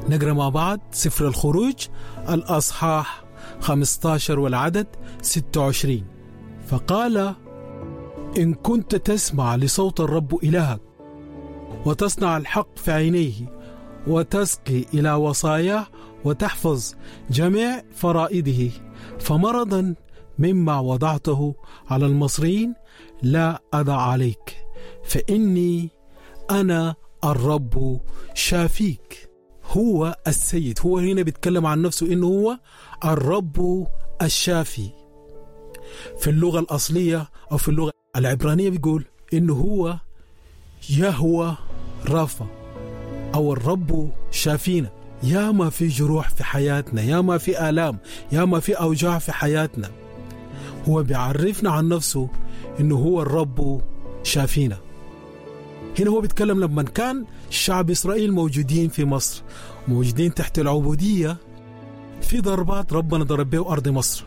نقرأ مع بعض سفر الخروج الأصحاح 15 والعدد 26. فقال: إن كنت تسمع لصوت الرب إلهك وتصنع الحق في عينيه وتسقي إلى وصاياه وتحفظ جميع فرائده، فمرضا مما وضعته على المصريين لا أضع عليك، فإني أنا الرب شافيك. هو السيد، هو هنا بيتكلم عن نفسه إنه هو الرب الشافي. في اللغة الأصلية أو في اللغة العبرانية بيقول إنه هو يهوى رافا أو الرب شافينا. يا ما في جروح في حياتنا، يا ما في آلام، يا ما في أوجاع في حياتنا، هو بيعرفنا عن نفسه إنه هو الرب شافينا. هنا هو بيتكلم لما كان شعب إسرائيل موجودين في مصر، موجودين تحت العبودية، في ضربات ربنا ضرب به أرض مصر.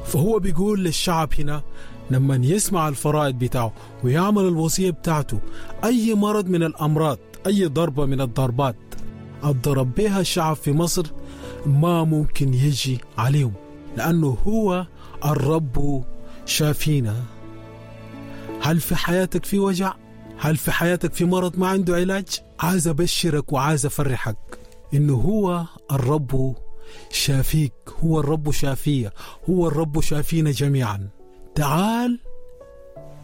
فهو بيقول للشعب هنا لما يسمع الفرائض بتاعه ويعمل الوصية بتاعته، أي مرض من الأمراض، أي ضربة من الضربات الضرب بها الشعب في مصر ما ممكن يجي عليهم، لأنه هو الرب شافينا. هل في حياتك في وجع؟ هل في حياتك في مرض ما عنده علاج؟ عايز أبشرك وعايز أفرحك إنه هو الرب شافيك، هو الرب شافية، هو الرب شافينا جميعا. تعال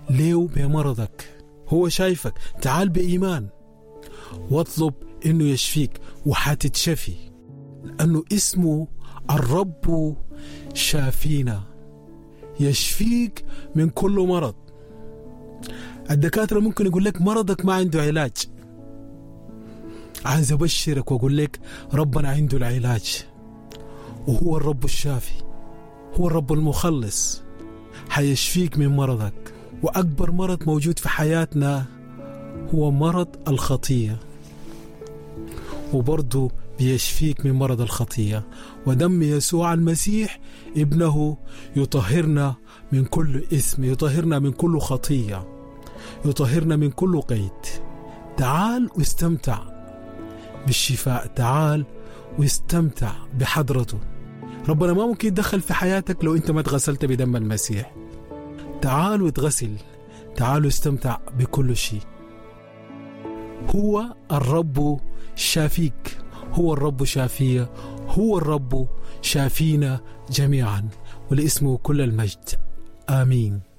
ليه بمرضك، هو شايفك، تعال بإيمان واطلب إنه يشفيك وحتتشفي، لأنه اسمه الرب شافينا، يشفيك من كل مرض. الدكاترة ممكن يقول لك مرضك ما عنده علاج. عايز أبشرك وأقول لك ربنا عنده العلاج، وهو الرب الشافي، هو الرب المخلص، حيشفيك من مرضك. وأكبر مرض موجود في حياتنا هو مرض الخطية، وبرضه بيشفيك من مرض الخطية. ودم يسوع المسيح ابنه يطهرنا من كل إثم، يطهرنا من كل خطية، يطهرنا من كل قيد. تعال واستمتع بالشفاء، تعال واستمتع بحضرته. ربنا ما ممكن يتدخل في حياتك لو انت ما تغسلت بدم المسيح. تعال وتغسل، تعال واستمتع بكل شيء. هو الرب شافيك، هو الرب شافية، هو الرب شافينا جميعا، ولاسمه كل المجد. آمين.